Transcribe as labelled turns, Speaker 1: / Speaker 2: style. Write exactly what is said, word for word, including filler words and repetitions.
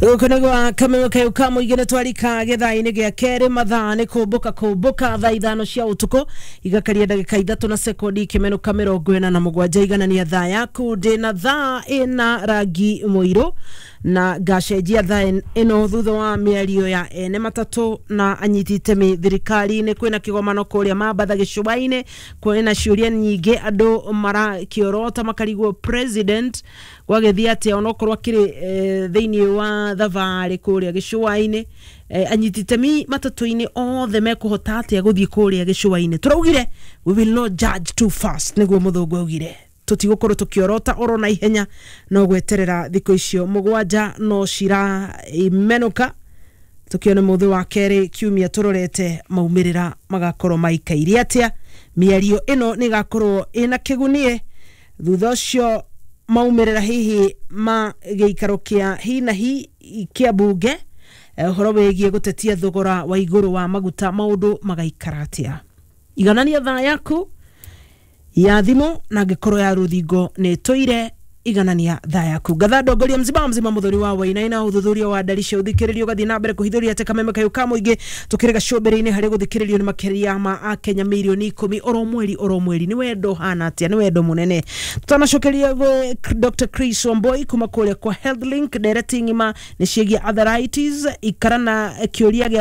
Speaker 1: Gũkũ nĩ gwa Kameme kayũ ka mũingĩ. Nĩ twarika gĩthaa-inĩ gĩa kerĩ. Mathaa nĩ kũmbũka kũmbũka thaa ithano cia ũtukũ igakaria ndagĩka ithatũ na sekondi ikĩmenũka mĩrongo ĩna na mũgwanja. Iganania thaa yaku. Ndĩna thaa ĩna rangi mũirũ na ngacenjia thaa ĩno thutha wa mĩario ya ene matatũ na anyiti itemi thirikari-inĩ. Kwĩna kĩgomano kũrĩa Mambatha gĩcũa-inĩ. Kwĩna ciũria nyingĩ, andũ marakĩorota makarigwo president gwagĩthiĩ atĩa onokorwo akĩrĩ eh, thĩinĩ wa thabarĩ kũrĩa gĩcũa-inĩ. eh, anyiti itemi matatũ-inĩ othe mekũhota atĩa gũthiĩ kũrĩa gĩcũa-inĩ? Tũraugire we will not judge too fast, nĩguo mũthũngũ augire. Tũtigũkorwo tũkĩorota oro na ihenya, no gweterera thikũ icio mũgwanja no ciraimenũka tukione mũthĩ wa kerĩ kiumia tũrorete maumĩrĩra magakorwo maikaire atĩa. Mĩario ĩno nĩ ĩgakorwo ĩna kĩgunie thutha ũcio maumĩrĩra hihi ma gĩikaro kĩa hi na hi kĩa mbunge, eh, ũhoro wĩgiĩ gũtetia thogora wa igũrũ wa maguta, maũndũ magaikara atĩa. Iganania thaa yaku ya thimũ na angĩkorwo ya rũthingo nĩ tũire, iganania thaa yaku. Ngatha ndongoria mzima mzima muthuri wa Wainaina. Ũthuthuria wa ndari cia ũthikĩrĩrio ũgathiĩ na mbere kũhithũria atĩ Kameme kayũ ka mũingĩ tũkĩrĩ gacũmbĩrĩ-inĩ harĩ gũthikĩrĩrio nĩ makĩria ma akenya mirioni ikũmi oro mweri oro mweri. Nĩ wendo hana atĩa? Nĩ wendo mũnene. Tutanacokeria gwĩ Dr Chris Wamboi kuma kũrĩa kwa Health Link, ndereti ng'ima nĩ ciĩgiĩ arthritis. Ikara na kĩũria gĩa